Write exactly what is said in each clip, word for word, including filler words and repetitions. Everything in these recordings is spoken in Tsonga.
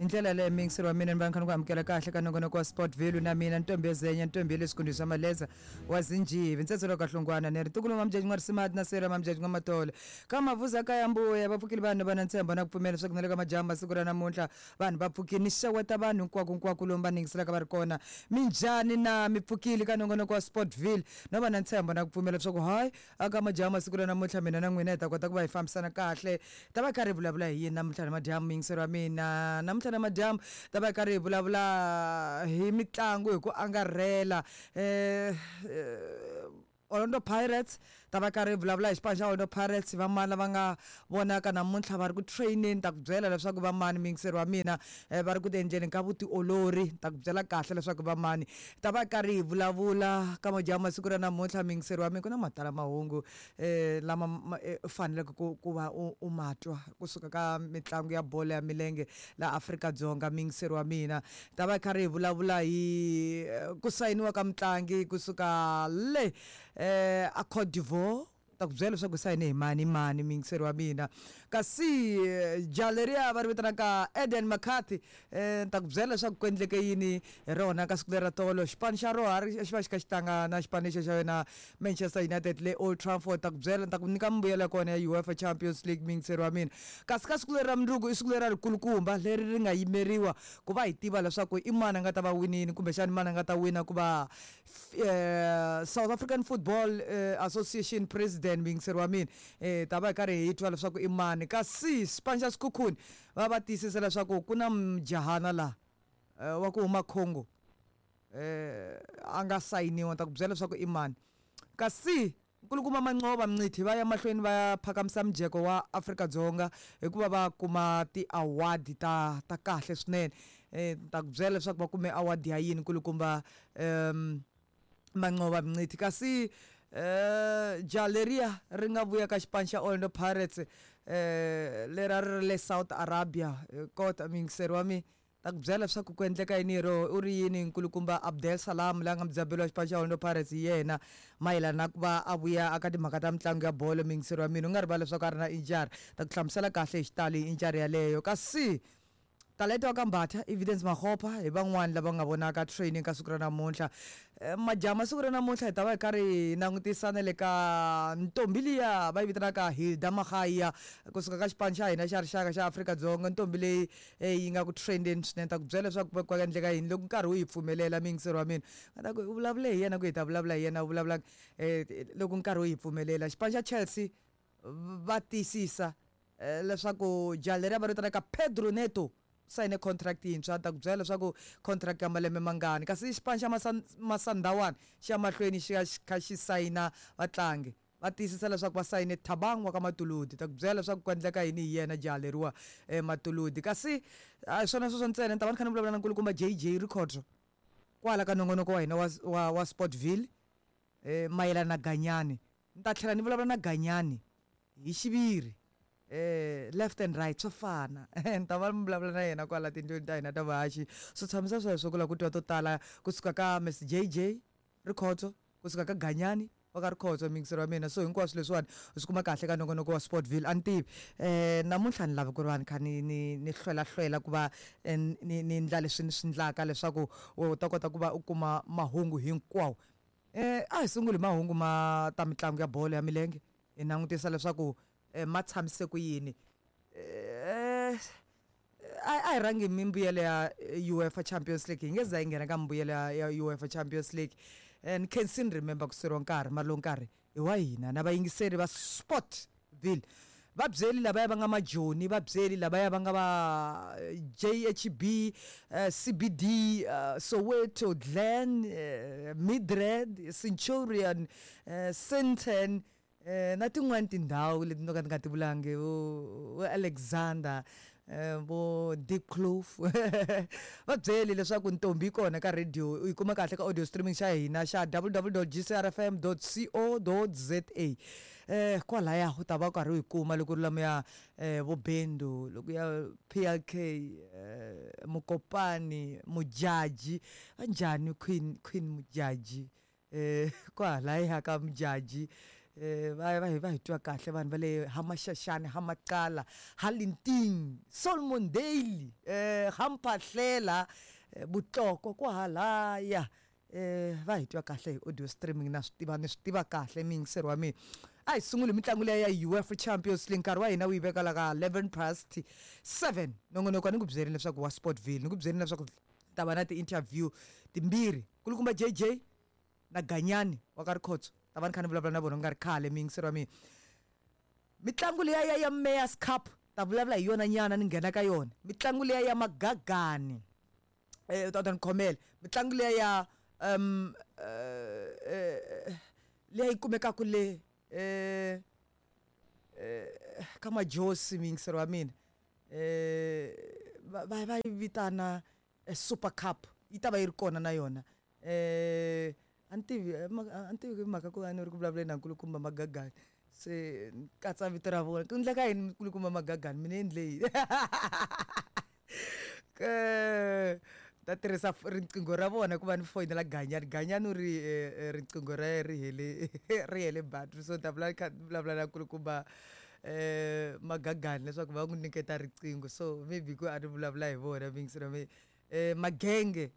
Hi ndlela yaleyo muyingiseri wa mina ni va ni kha ni ku amukela kahle ka nongonoko wa Sport Value na mina Ntombi Yezenya Ntombi ya le Xikundwini xa Maleza wa Zinjivi ntsetselo ka Hlongwana ni ri tukulu wa Mjaji N'warisimati na Sera Mamjaji N'wamatole ka Mavuza ka ya Mbuya va pfukile vanhu va na ntshembo na ku pfumela leswaku na le ka madyambu masiku ra namuntlha vanhu va pfukile ni xeweta vanhu hinkwako hinkwako lomu va ni yingiselaka va ri kona minjhani na mi pfukile ka nongonoko wa Sportville no va na ntshembo na ku pfumela leswaku hayi aka madyambu masiku ra namuntlha mina na n'wina hi ta kota ku va hi fambisana kahle ta va karhi hi vulavula hi yini namuntlha na madyambu muyingiseri wa mina namuntlha na madyambu ta va karhi hi vulavula hi mitlangu hi ku angarhela eh, eh Orlando Pirates ta va karhi hi vulavula hi xipano xa Orlando Pirates va mani lava nga vonaka namuntlha va ri ku training ta ku byela leswaku va mani muyingiseri wa mina eh, va ri ku ti endleni ka vutiolori ta ku byela kahle leswaku va mani ta va karhi hi vulavula ka madyambu masiku ra namuntlha muyingiseri wa mina ku na matala mahungu eh, lama ma- eh, u faneleke ku ku va u u ma twa kusuka ka mitlangu ya bolo ya milenge la Afrika-Dzonga muyingiseri wa mina ta va karhi hi vulavula hi eh, ku sayiniwa ka mutlangi kusuka le eh a Cote d'Ivoire ta ku byela leswaku sayine hi mani mani muyingiseri wa mina kasi eh, jaha leriya va ri vitanaka Eden McCarthy eh ni ta ku byela leswaku ku endleke yini hi rona ka siku leri ra tolo xipano xa roha ri xi va xi kha xi tlanga na xipano lexi xa yona Manchester United le Old Trafford ta ku byela ni ta ku nyika mimbuyelo ya kona ya UEFA Champions League muyingiseri wa mina kasi ka siku leri ra mundzuku i siku leri ra rikulukumba leri ri nga yimeriwa ku va hi tiva leswaku i mani a nga ta va winini kumbexani mani a nga ta wina ku va eh, South African Football eh, Association President muyingiseri wa mina eh ta va hi karhi hi twa leswaku i mani kasi xipano xa Sekhukhune va va tiyisisa leswaku ku na mujahana laha eh, wa ku huma Congo eh a nga sayiniwa ni ta ku byela leswaku i mani kasi nkulukumba Manqoba Mngqithi va ya mahlweni va ya phakamisa mujeko wa Afrika-Dzonga hikuva va kuma ti-award ta ta kahle swinene eh ni ta ku byela leswaku va kume award ya yini nkulukumba um Manqoba Mngqithi kasi eh jaha leriya ri nga vuya ka xipano xa Orlando Pirates eh lera ri ri le South Arabia eh, kota muyingiseri wa mina ta ku byela leswaku ku endleka yini hi roho u ri yini nkulukumba Abdel Salam la nga mudzaberi wa xipano xa Orlando Pirates hi yena mayelana na ku va a vuya aka timhaka ta mitlangu ya bolo muyingiseri wa mina u nga rivali leswaku a ri na injury ta ku hlamusela kahle hi xitalo hi injury yaleyo kasi Talenta wa ka Mbatha Evidence Makgopa hi van'wani lava nga vonaka training ka siku ra namuntlha Eh, majaha siku ra namuntlha hi ta va hi karhi hi langutisa na le ka ntombi liya va yi vitanaka Hilda Magaia kusuka ka xipano xa hina xa rixaka xa Afrika-Dzonga ntombi leyi eh, yi nga ku trendeni swinene ta ku byela leswaku ku endleka yini loko nkarhi wu yi pfumelela muyingiseri wa mina nga ta ku u vulavule hi yena ku hi ta vulavula hi yena u vulavula eh, loko nkarhi wu yi pfumelela xipano xa Chelsea va tiyisisa eh, leswaku jaha leriya va ri vitanaka Pedro Neto sayine contract yintshwa ta ku byela leswaku contract ya malembe mangani kasi xipano xa Masan- Masandawani xi ya mahlweni xi ya xi kha xi sayina vatlangi va tiyisisa leswaku va sayine Thabang wa ka Matuludi ta ku byela leswaku ku endleka yini hi yena jaha leriwa eh, Matuludi kasi a hi swona sweswo ntsena ni ta va ni kha ni vulavula na nkulukumba J J Rikhotso kwala ka nongonoko wa hina wa, wa, wa Sportville eh, mayelana na Ganyani ni ta tlhela ni vulavula na Ganyani hi xiviri eh left and right swa fana ni ta va ni vulavula na yena kwala tindlwini ta hina ta vuhaxi swo tshamisa sweswo ku lava ku twa to tala kusuka ka Miss J J Rikhotso kusuka ka Ganyani wa ka Rikhotso muyingiseri wa mina so hinkwaswo leswiwani u swi kuma kahle ka nongonoko wa Sportville a ni tivi eh namuntlha ni lavi ku ri va ni kha ni ni ni hlwela hlwela ku va eh, ni ni ndla leswi ni swi ndlaka leswaku u ta kota ku va u kuma mahungu hinkwawo eh a hi sunguli mahungu ma ta mitlangu ya bolo ya milenge hi langutisa leswaku eh, ma tshamise ku yini eh a a hi rhangi hi mimbuyelo ya eh, UEFA Champions League hi nge za hi nghena ka mimbuyelo ya, ya UEFA Champions League eh, ni khensi ni remember ku seriwa nkarhi mara lowu nkarhi hi wa hina na vayingiseri va Sportville va byeli lavaya va nga majoni va byeli lavaya va nga va eh, J H B eh, C B D uh, Soweto Glen eh, Midrand Centurion eh, Sandton eh, na tin'wani tindhawu leti no ka ni nga ti vulangi vo vo Alexander eh, vo Diepkloof va byeli leswaku ntombi yi kona ka radio u yi kuma kahle ka audio streaming xa hina xa w w w dot g c r f m dot co dot za eh kwalaya u ta va u karhi u yi kuma loko ri lomuya eh, vo Bendu loko ya P L K eh, Mokopani Mujaji va njhani Queen Queen Mujaji eh kwalaya ka Mujaji Eh va va hi va hi twa kahle vanhu va le Hamaxaxani, Hamaqala, Halinting, Solomon Dale, eh Hampahlela, Butloko kwahalaya. Eh va hi twa kahle hi audio streaming na swi tiva ni swi tiva kahle miyingiseri wa mina. A hi sunguli mitlangu leya ya UEFA Champions League, nkarhi wa hina wu yi veka la ka eleven past seven. Nongonoko ni ku byerini leswaku wa Sportville, ni ku byerini leswaku ta va na ti-interview timbirhi, kulukumba J J na Ganyani wa ka Rikhotso, ta va ni kha ni vulavula na vona ku nga ri khale miyingiseri wa mina. Mitlangu leya ya ya Mayor's Cup ta vulavula hi yona nyana ni nghena ka yona. Mitlangu leya ya Magagani, eh ta ta ni khomela. Mitlangu leya ya um eh leyi yi kumekaka le eh eh ka Majosi miyingiseri wa mina, eh va va yi vitana Super Cup, yi ta va yi ri kona na yona. Eh a ni tivi a ni tivi mhaka ku a ni ri ku vulavuleni na nkulukumba Magagani, se ni katsa vito ra vona. Ku endleka yini nkulukumba Magagani, mina endle yini? Ke ta tirhisa riqingho ra vona ku va ni foyinela Ganyani. Ganyani u ri riqingho ra yena ri hele ri hele battery, so ni ta vula kha vulavula na nkulukumba eh Magagani leswaku va n'wi nyiketa riqingho, so maybe ku a ni vulavula hi vona miyingiseri wa mina. Eh Magenge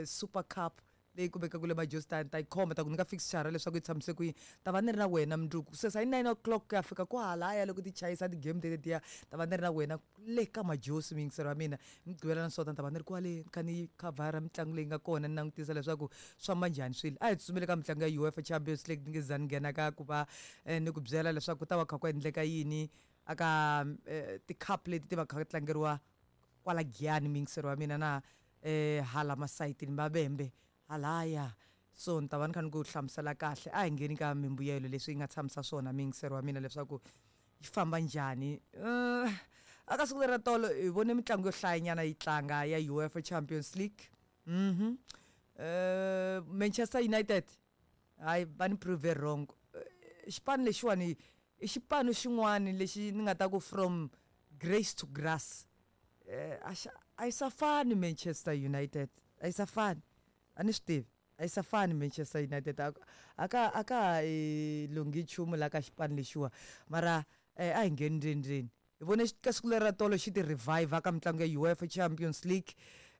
Super Cup leyi kumekaka le Majostani, ta yi khoma ta ku nyika fixture leswaku yi tshamise ku yini. Ta va ni ri na wena mundzuku se hi nine o'clock ku ya fika kwahalaya loko ti chayisa ti-game tetetiya, ta va ni ri na wena le ka Majosi miyingiseri wa mina. Mugqivela na Sonta ni ta va ni ri kwale ni kha ni khavhara mitlangu leyi nga kona, ni langutisa leswaku swi famba njhani swilo. A hi tsutsumeli ka mitlangu ya UEFA Champions League, ni nge za ni nghena ka ku va ni ku byela leswaku ku ta va kha ku endleka yini aka ti-cup leti ti va kha tlangeriwa kwala Giyani miyingiseri wa mina na eh hala masayitini Vavhembe halaya. So ni ta va ni kha ni ku hlamusela kahle. A hi ngheni ka mimbuyelo leswi yi nga tshamisa swona miyingiseri wa mina leswaku yi famba njhani. Uh, aka siku leri ra tolo hi vone mitlangu yo hlayanyana yi tlanga ya UEFA Champions League. Mhm. Uh, Manchester United hayi va ni prove wrong. Xipano lexiwani i xipano xin'wani lexi ni nga ta ku from grace to grass. Eh a yi sa fani Manchester United, a yi sa fani, a ni swi tivi, a yi sa fani Manchester United. A ka a ka ha lunghi nchumu la ka xipano lexiwa, mara a hi ngheni ndzeni ndzeni. Hi vone ka siku leri ra tolo xi ti revive ka mitlangu ya UEFA Champions League,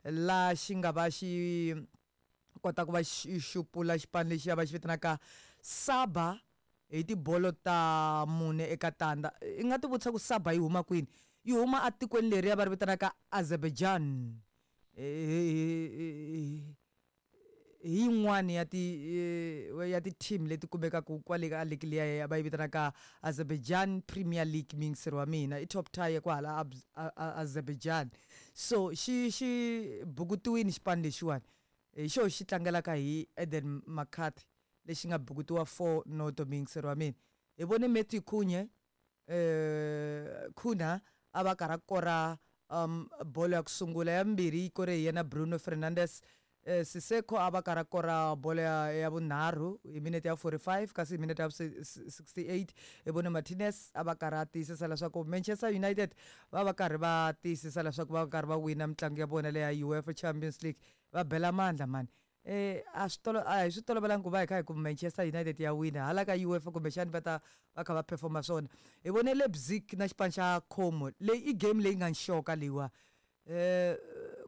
la xi nga va xi kota ku va xi xupula xipano lexiya va xi vitanaka Saba hi tibolo ta mune eka tandza. I nga ti vutisa ku Saba yi huma kwini? Yi huma atikweni leriya va ri vitanaka Azerbaijan. Hi yin'wani ya ti ya ti-team leti kumekaka kwale ka league liya va yi vitanaka Azerbaijan Premier League miyingiseri wa mina, i top tier kwahala Azerbaijan. So xi xi bukutiwini xipano lexiwani, hi xo xi tlangelaka hi Eden McCarthy lexi nga bukutiwa four noto miyingiseri wa mina. Hi vone Matthew Cunha eh Cunha a va karhi a kora um bolo ya ku sungula, ya vumbirhi yi kore hi yena Bruno Fernandes. Eh Siseko a va karhi a kora bolo ya ya vunharhu hi minete ya forty-five, kasi hi minete ya sixty-eight hi vone Martinez a va karhi a tiyisisa leswaku Manchester United va va karhi va tiyisisa leswaku va karhi va wina mitlangu ya vona leya UEFA Champions League. Va bela mandla mani. Eh a swi tolo a hi swi tolovelanga ku va hi kha hi ku Manchester United ya wina hala ka UEFA, kumbexani va ta va kha va performa swona. Hi vone Leipzig na xipano xa Como, leyi i game leyi nga nxoka leyiwa. Eh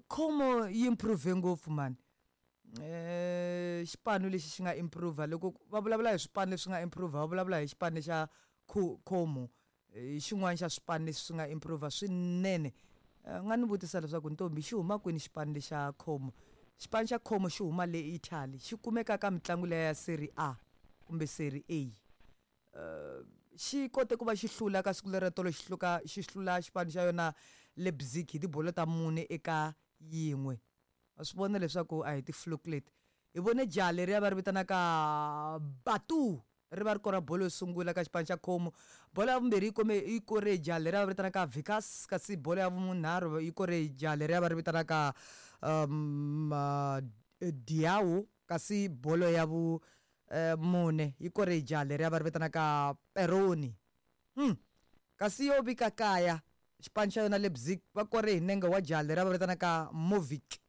Como yi improve ngopfu mani. Eh xipano lexi xi nga improve, loko va vulavula hi swipano leswi nga improve va vulavula hi xipano xa Como, hi xin'wana xa swipano leswi swi nga improve swinene. Nga ni vutisa leswaku ntombi xi huma kwini xipano lexa Como? Xipano xa Como xi huma le Italy, xi kumeka ka mitlangu leya ya Serie A kumbe Serie A. Uh, xi kote ku va xi hlula ka siku leri tolo, xi hluka xi hlula xipano xa yona Leipzig hi tibolo ta mune eka yin'we. Wa swi vona leswaku a hi ti-fluke leti. Hi vone jaha leriya va ri vitanaka Batu ri va ri kora bolo yo sungula ka xipano xa Como. Bolo ya vumbirhi yi kome yi kore hi jaha leriya va ri vitanaka Vikas, kasi bolo ya vunharhu yi kore hi jaha leriya va ri vitanaka um uh, Diao, kasi bolo ya vu uh, mune yi kore hi jaha leriya va ri vitanaka Peroni. Hmm. Kasi yo vika kaya xipano xa yona Leipzig va kore hi nenge wa jaha leriya va vitanaka Movic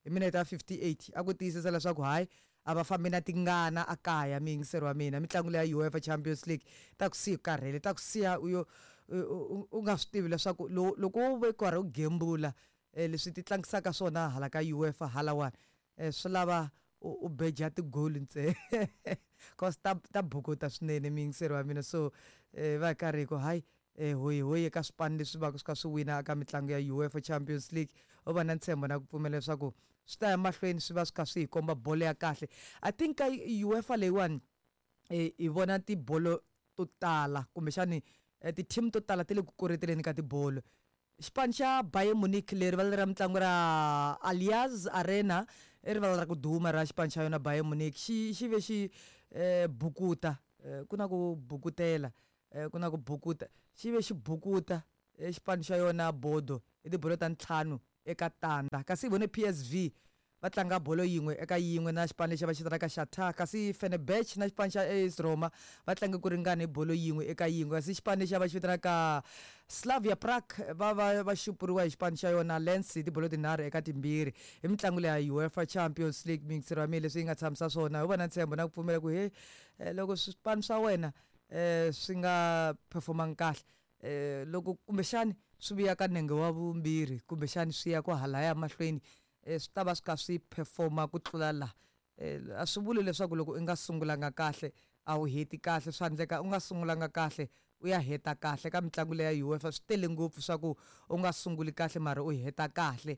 hi minete ya fifty-eight, a ku tiyisisa leswaku hayi A va fambi na tingana a kaya miyingiseri wa mina. Mitlangu leya UEFA Champions League ta ku siya karhele, ta ku siya u yo u nga swi tivi leswaku loko wo ve karhi u gembula leswi ti tlangisaka swona hala ka UEFA halawani swi lava u beja tigoli ntsena cause ta ta bukuta swinene miyingiseri wa mina. So va karhi ku hayi hoyi hoyi eka swipano leswi va swi kha swi wina eka mitlangu ya UEFA Champions League, u va na ntshembo na ku pfumela leswaku swi ta ya mahlweni swi va swi kha swi hi komba bolo ya kahle. I think ka UEFA leyiwani hi vona tibolo to tala kumbexani ti-team to tala ti le ku koreteleni ka tibolo. Xipano xa Bayern Munich leri rivala ra mitlangu ra Allianz Arena i rivala ra ku duma ra xipano xa yona Bayern Munich xi xi ve xi bukuta ku na ku bukutela ku na ku bukuta xi ve xi bukuta xipano xa yona Bodo i tibolo ta ntlhanu eka tandza. Kasi hi vone P S V va tlanga bolo yin'we eka yin'we na xipano lexi va xi vitanaka Shakhtar, kasi Fenerbahce na xipano xa A S Roma va tlange ku ringana hi bolo yin'we eka yin'we. Kasi xipano lexi va xi vitanaka Slavia Prague va va va xupuriwa hi xipano xa yona Lens hi tibolo tinharhu eka timbirhi. Hi mitlangu leya UEFA Champions League miyingiseri wa mina leswi yi nga tshamisa swona, hi va na ntshembo na ku pfumela ku he loko swipano swa wena swi nga performangi kahle loko kumbexani swi vuya ka nenge wa vumbirhi kumbexani swi ya ku halaya mahlweni swi ta va swi kha swi performa ku tlula laha. A swi vuli leswaku loko u nga sungulanga kahle a wu heti kahle, swa endleka u nga sungulanga kahle u ya heta kahle. Ka mitlangu leya UEFA swi tele ngopfu swa ku u nga sunguli kahle mara u heta kahle.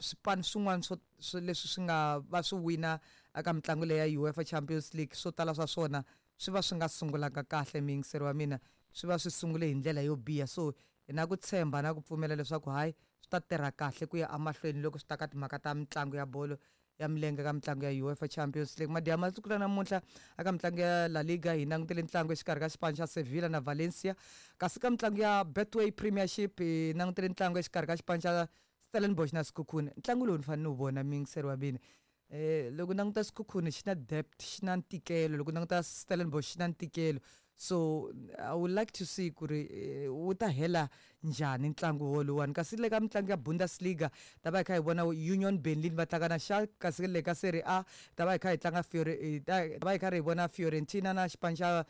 Swipano swin'wana swo leswi swi nga va swi wina eka mitlangu leya UEFA Champions League swo tala swa swona swi va swi nga sungulanga kahle miyingiseri wa mina, swi va swi sungule hi ndlela yo biha. So hi na ku tshemba na ku pfumela leswaku hayi swi ta tirha kahle ku ya emahlweni loko swi ta ka timhaka ta mitlangu ya bolo ya milenge ka mitlangu ya UEFA Champions League. Madyambu masiku la namuntlha eka mitlangu ya La Liga hi langutele ntlangu exikarhi ka xipano xa Sevilla na Valencia, kasi ka mitlangu ya Betway Premiership hi langutele ntlangu exikarhi ka xipano xa Stellenbosch na Sekhukhune. Ntlangu lowu ni fanele ni wu vona miyingiseri wa mina. Eh loko languta Sekhukhune xi na depth, xi na ntikelo, loko languta Stellenbosch xi na ntikelo. So I would like to see ku ri wu ta hela njhani ntlangu woluwani. Kasi le ka mitlangu ya Bundesliga ta va hi kha hi vona Union Berlin va tlanga na Schalke, kasi le ka Serie A ta va hi kha hi tlanga Fiore ta va hi kha hi vona Fiorentina na xipano xa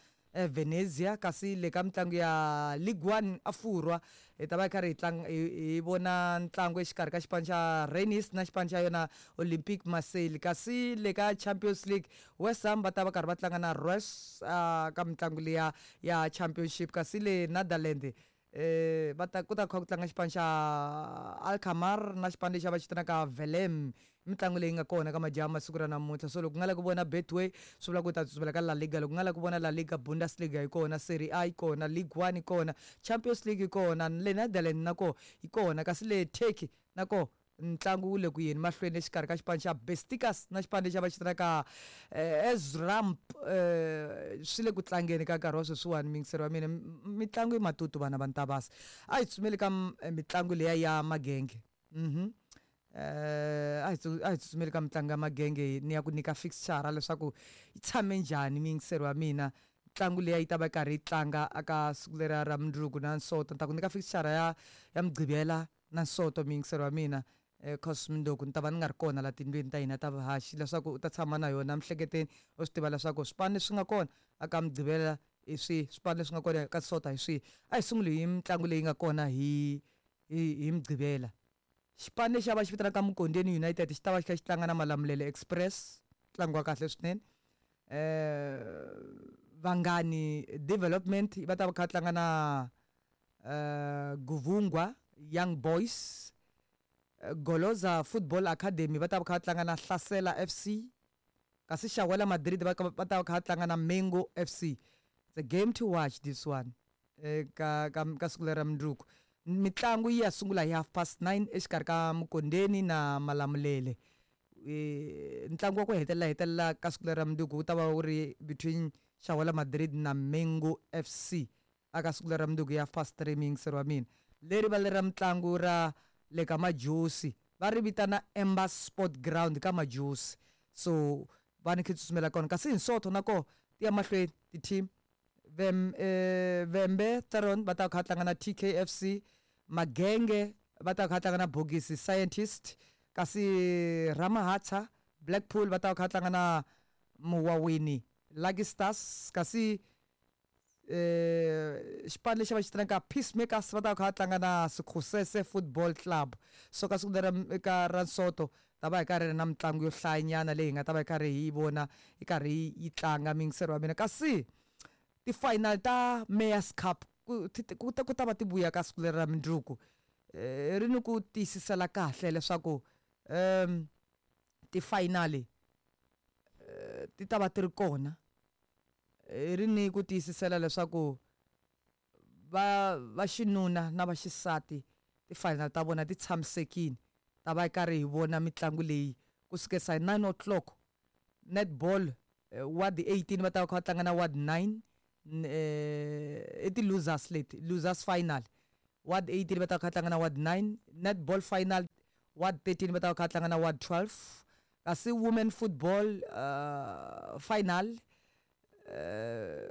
Venezia, kasi le ka mitlangu ya Ligue one a Furwa hi ta va hi karhi hi tlanga hi vona ntlangu exikarhi ka xipano xa Rennes na xipano xa yona Olympique Marseille. Kasi le ka Champions League West Ham va ta va karhi va tlanga na Ross ka mitlangu liya ya Championship, kasi le Netherlands eh va ta ku ta kha ku tlanga xipano xa Alkmaar na xipano lexi va xi vitanaka Velem. Mitlangu leyi nga kona ka madyambu masiku ra namuntlha. So loko ku nga la ku vona Betway swi vula ku ta tsutsumela ka La Liga, loko ku nga la ku vona La Liga Bundesliga yi kona, Serie A yi kona, Ligue one yi kona, Champions League yi kona, le Netherlands na koho yi kona, kasi le Turkey na koho ntlangu wu le ku yeni mahlweni exikarhi ka xipano xa Besiktas na xipano lexi va xi vitanaka Ezramp. Swi le ku tlangeni ka nkarhi wa sweswiwani miyingiseri wa mina. Mitlangu i matutu vana va Ntavasi. A hi tsutsumeli ka mitlangu liya ya magenge. Mhm eh a hi tsutsumeli ka mitlangu ya magenge ni ya ku nyika fixture leswaku yi tshame njhani miyingiseri wa mina. Ntlangu leyi yi ta va karhi yi tlanga aka siku leriya ra mundzuku na Nsoto. Ni ta ku nyika fixture ya ya Mugqivela na Nsoto miyingiseri wa mina. Cause mundzuku ni ta va ni nga ri kona la tindlwini ta hina ta vuhaxi leswaku u ta tshama na yona miehleketweni u swi tiva leswaku swipano leswi nga kona aka Mugqivela hi swihi, swipano leswi nga kona ka Sonta hi swihi. A hi sunguli hi mitlangu leyi nga kona hi hi hi Mugqivela. Xipano lexi va xi vitanaka Mukondeni United xi ta va xi kha xi tlanga na Malamulele Express, ntlangu wa kahle swinene. Eh Vangani Development va ta va kha tlanga na eh Guvungwa Young Boys. Goloza Football Academy va ta va kha tlanga na Hlasela F C, kasi Shawela Madrid va ta va kha tlanga na Mengo F C. It's a game to watch this one ka ka ka siku lera mundzuku. Mitlangu yi ya sungula hi half past nine exikarhi ka Mukondeni na Malamulele. Ntlangu wa ku hetelela hetelela ka siku lera mundzuku wu ta va wu ri between Shawela Madrid na Mengo F C aka siku lera mundzuku ya half past three miyingiseri wa mina. Leri va lera mitlangu ra le ka Majosi va ri vitana Ember Sport Ground ka Majosi, so va ni khe tsutsumela kona. Kasi hi Nsoto na koho ti ya mahlweni ti-team Vem eh Vembe Theron va ta kha tlanga na T K F C, Magenge va ta kha tlanga na Bogisi Scientist, kasi Ramahatha Blackpool va ta va kha va tlanga na Muwawini Lucky Stars, kasi eh xipano lexi va xi tlangaka Peacemakers va ta va kha va tlanga na Sikhosese Football Club. So ka siku leri ka ra Nsoto ta va hi karhi na mitlangu yo hlayanyana leyi hi nga ta va hi karhi hi yi vona yi karhi yi tlanga, miyingiseri wa mina. Kasi ti-final ta Mayor's Cup ku ku ta ku ta va ti vuya ka siku leri ra mundzuku, eh ri ni ku tiyisisela kahle leswaku um ti-final ti ta va ti ri kona, ri ni ku tiyisisela leswaku va va xinuna na va xisati ti-final ta vona ti tshamisekile, ta va karhi hi vona mitlangu leyi kusukela hi nine o'clock. Netball ward eighteen va ta va kha va tlanga na ward nine, i ti-losers leti, losers final. Ward eighteen va ta va kha va tlanga na ward nine, netball final ward thirteen va ta va kha va tlanga na ward twelve, kasi women football uh, final uh,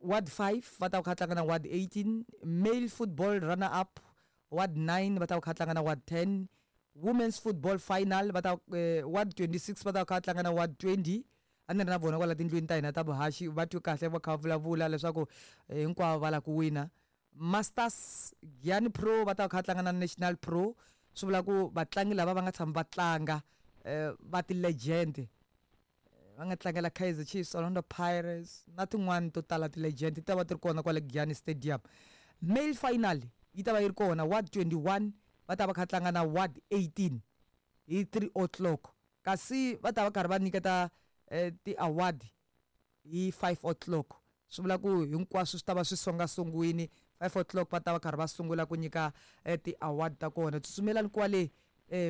ward five va ta va kha va tlanga na ward eighteen, male football runner up ward nine va ta va kha va tlanga na ward ten, women's football final va ta uh, ward twenty-six va ta va kha va tlanga na ward twenty. A ni ri na vona kwala tindlwini ta hina ta vuhaxi, va twe kahle va kha va vulavula leswaku hinkwavo va lava ku wina. Masters Giyani Pro va ta va kha va tlanga na National Pro, swi vula ku vatlangi lava va nga tshama va tlanga va ti-legend, va nga tlangela Kaizer Chiefs, Orlando Pirates na tin'wani to tala ti-legend ti ta va ti ri kona kwale Giyani Stadium. Male final yi ta va yi ri kona ward twenty-one va ta va kha tlanga na ward eighteen hi three o'clock, kasi va ta va karhi va nyiketa ti-award hi five o'clock. Swi vula ku hinkwaswo swi ta va swi songasongiwini, five o'clock va ta va karhi va sungula ku nyika ti-award ta kona. Tsutsumelani kwale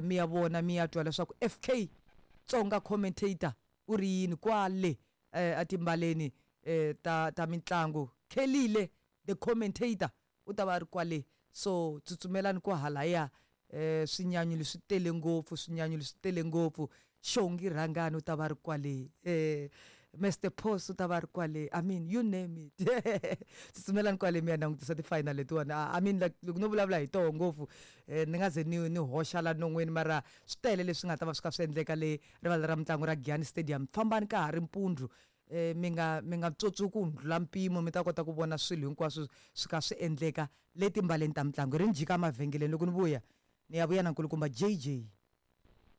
mi ya vona mi ya twa leswaku F K Tsonga commentator u ri yini kwale etimbaleni ta ta mitlangu. Khelile the commentator u ta va ri kwale, so tsutsumelani ku halaya. Swinyanyu leswi tele ngopfu, swinyanyu leswi tele ngopfu. Xongi Rhangani u ta va ri kwale, eh Mister Post u ta va ri kwale, I mean you name it. Tsutsumelani kwale mi ya langutisa ti-final letiwani. I mean like loko no vulavula hi toho ngopfu ni nga ze ni ni hoxa la non'weni, mara swi tele leswi nga ta va swi kha swi endleka le rivala ra mitlangu ra Giyani Stadium. Fambani ka ha ri mpundzu, mi nga mi nga tsotsi ku ndlula mpimo, mi ta kota ku vona swilo hinkwaswo swi kha swi endleka le timbaleni ta mitlangu. Ri ni jika mavhengeleni loko ni vuya ni ya vuya na nkulukumba J J.